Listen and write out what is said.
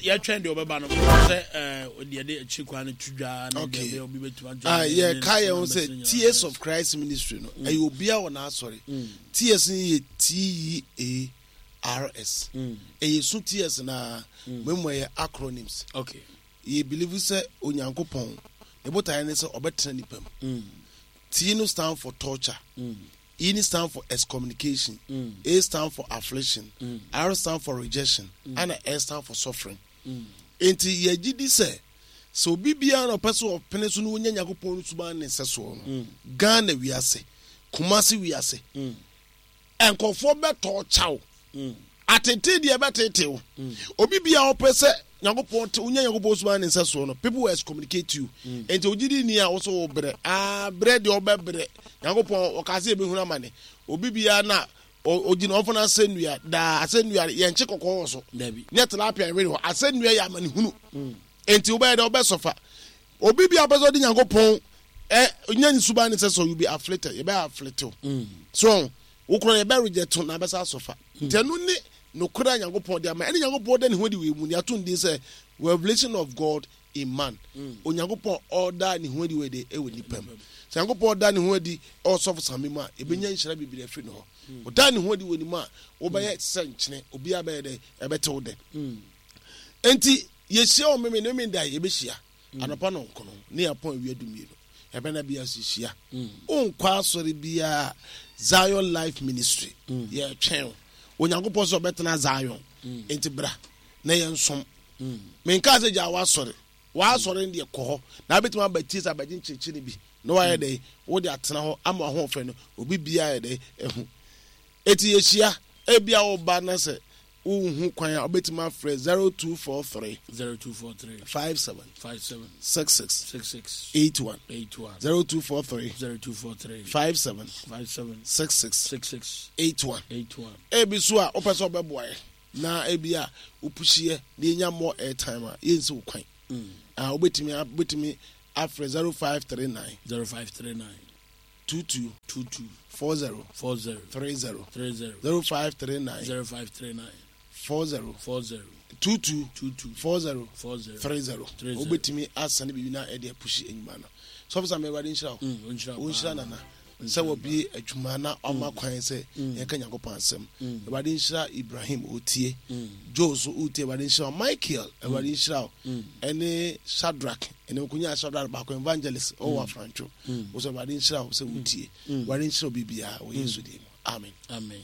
Yɛtwɛn deɛ ɔbɛba no sɛ ɛɛ deɛ de akyiri kwan no to dwa na deɛ ɛbɛyɛ obi bɛtumi adwa. Ah, yɛ ka yɛn ho sɛ Tears of Christ Ministry no mm. ɛyɛ obiara wɔ n'asɔre. Mm. Tears no yɛ T E A R S. Mm. Ɛyɛ su tears na mmom ɛyɛ acronyms. Okay. Yɛ believe sɛ Onyankopɔn ne botaeɛ ne sɛ ɔbɛtena nipa mu. T no stand for torture. E no stand for excommunication, A stand for affliction, R stand for rejection, ɛna S stand for suffering. Enti yɛgye di sɛ sɛ obi biara na ɔpɛ sɛ ɔpene so na onya Nyankopɔn no suban ne nsɛsoɔ no, Ghana wiase, Kumasi wiase, nkurɔfoɔ bɛtɔ kyaw. Atete deɛ ɛbɛtete wo. Obi biara ɔpɛ sɛ Nyankopɔn te wonya Nyankopɔn suban ne nsɛsoɔ no, people will excommunicate you. Enti ogye di ni a wo so wo brɛ. Ah, brɛ deɛ ɔbɛbrɛ. Nyankopɔn ɔkaa sɛ yɛbɛhunu amane. Obi biara na ogyina ɔmfa no asɛnnua daa asɛnnua yɛnkye kɔkɔɔ wɔ so. Nyɛ tilapia nwere hɔ. Asɛnnua yɛ amanehunu. Enti wobɛyɛ dɛ wobɛsɔfa. Obi biara pɛ sɛ ɔde Nyankopɔn ɛ nya ne suban ne nsɛsoɔ, you be afflicted. Yɛbɛ afflict wo. So Wo koraa yɛbɛ reject wo na abɛsa asɔ fa. Nti ɛno ne nokorɛ a Nyankopɔn de ama. Ɛne Nyankopɔn da ne ho adi wɔ yɛn mu. Yɛato no din sɛ Revelation of God in Man. Onyankopɔn ɔda ne ho adi wɔ de ɛwɔ nipa mu. Sɛ Nyankopɔn da ne ho adi ɛwɔ sɔfo Sami mu a, yɛbɛnya nhyira bebree afiri ne hɔ. Ɔda ne ho adi wɔ ne mu a, wobɛyɛ sɛ nkyene. Obiara bɛyɛ dɛ, ɛbɛte wo dɛ. Enti yɛhyia wɔ Memene, Memene da yɛbɛhyia. Anɔpa nɔnkono ne yɛapɔn awia dumienu. Yɛbɛna bi ase hyia. Wonkɔ asɔre biara Zion Life Ministry. Yɛtwɛn wo. Onyankopɔn sɛ ɔbɛtena Zion. Enti bra na yɛnsom. Menkaa sɛ gyaa w'asɔre. W'asɔre no deɛ kɔ hɔ. Na wobɛtumi aba tie sɛ abɛgye nkyerɛkyerɛ no bi. Na wayɛ dɛn? Wode atena hɔ ama w'ahoɔfɛ no obi biara yɛ dɛn? Ahu. Enti yɛhyia. Ebia woba na sɛ Wonhu kwan a, wobɛtumi afrɛ 0243 0243 57 57 66 66 81 81 0243 0243 57 57 66 66 81. 81. Ebi so a wopɛ sɛ ɔbɛboa yɛ na ebi a wopuhyiɛ na yɛnya more airtime a yɛnsi wo kwan. Ah, wobɛtumi wobɛtumi afrɛ 0539 0539 22 22 40 40 30 30 0539 0539 40 40 22 22 40 40 30 30. Wobɛtumi asane biribi na ɛde apuhyi enyuma no. Sɔfo Sam, Awurade nhyira wo. Ɔnhyira wo Ɔnhyira paa. Nana sɛ wɔbie adwuma na ɔma kwan sɛ yɛnka Nyankopɔn asɛm. Awurade nhyira Ibrahim ɔtie. Joe nso wotie, Awurade nhyira wo. Michael, Awurade nhyira wo. Ɛne Shadrach, ɛne nkonya Shadrach baako evangelist ɔwɔ Afrantwo. Wo sɛ Awurade nhyira wo sɛ wotie. Awurade nhyira wo biribiara wɔ Yesu din mu. Amen. Amen.